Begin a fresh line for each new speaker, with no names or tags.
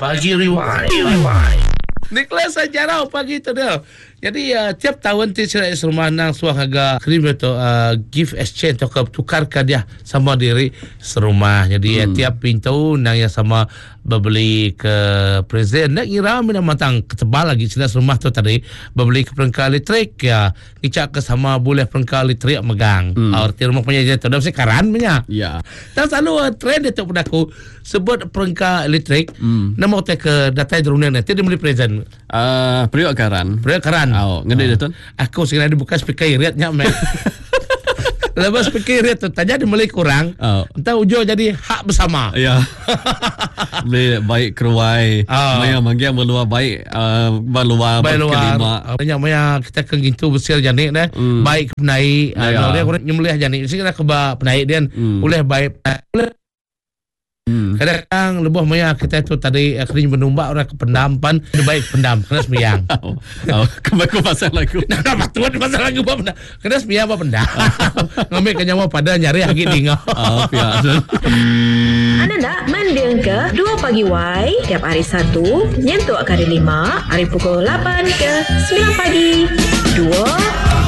Pagi Rewind. Rewind. Nicholas Jarau pagi tu dia. Jadi uh, tiap tahun ti sida serumah nang suah ngaga krim tu uh, gift exchange atau ke tukar ke dia sama diri serumah. Jadi hmm. tiap pintu nang yang sama bebeli ke present enda ngira mina matang ketebal agi sida serumah tu tadi bebeli ke perengka elektrik ya ngicha ke sama bulih perengka elektrik megang. Hmm. Uh, reti rumah punya tu dah mesti karan punya.
Ya.
Tang selalu uh, trend dia tu pada aku sebut perengka elektrik hmm. nama utai ke datai derunding nanti dia beli present.
Uh, periuk karan.
Periuk karan.
Oh, ngedi uh. dia tu.
Aku segera dibuka speaker irit nya meh. Lepas speaker irit tu tanya dia beli kurang.
Oh.
Entah ujung jadi hak bersama.
Ya. Beli baik keruai.
Oh.
Maya manggil meluar baik uh, baluar
Baik luar.
kelima.
Banyak maya kita ke gintu besir janik dah. Baik ke penaik.
Ya.
Uh, dia orang nyembelih janik. Mesti kena ke ba penaik dia. Ulih baik ulih Kadang-kadang lebuh maya kita tu tadi eh, kena menumbak orang ke pendam pan dia baik ke pendam kena sembiang.
Oh, oh, kembali ke pasal lagu.
Nah, patut pasal lagu ba pendam. Kena sembiang ba pendam. Ngambil ke nyawa pada nyari agi dinga.
Oh, pia.
Anda nak mending ke 2 pagi Y tiap hari Satu nyentuk ke hari Lima hari pukul 8 ke 9 pagi. 2.